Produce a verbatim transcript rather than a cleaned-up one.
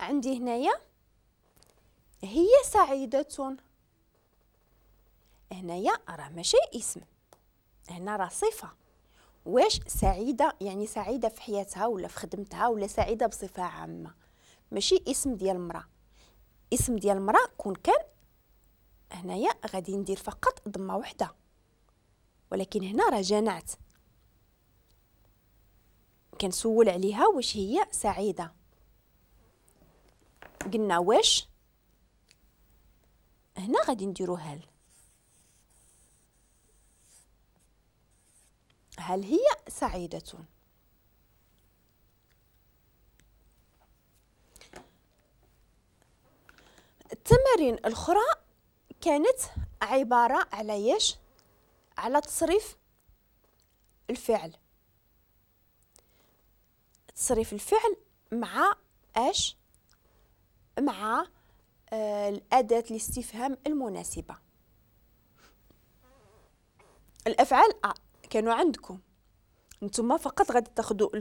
عندي هنايا هي سعيدة، هنايا راه ماشي اسم، هنا راه صفة. واش سعيدة يعني سعيدة في حياتها ولا في خدمتها ولا سعيدة بصفة عامة، ماشي اسم ديال المرأة. اسم ديال المرأة كون كان هنايا غادي ندير فقط ضمة وحدة، ولكن هنا راه جنعت كنسول عليها واش هي سعيدة. قلنا واش، هنا غادي نديرو هل، هل هي سعيدة. التمارين الأخرى كانت عبارة على ياش؟ على تصريف الفعل، تصريف الفعل مع اش؟ مع آه الأداة الاستفهام المناسبة. الأفعال آه كانوا عندكم نتوما، فقط غادي تاخذوا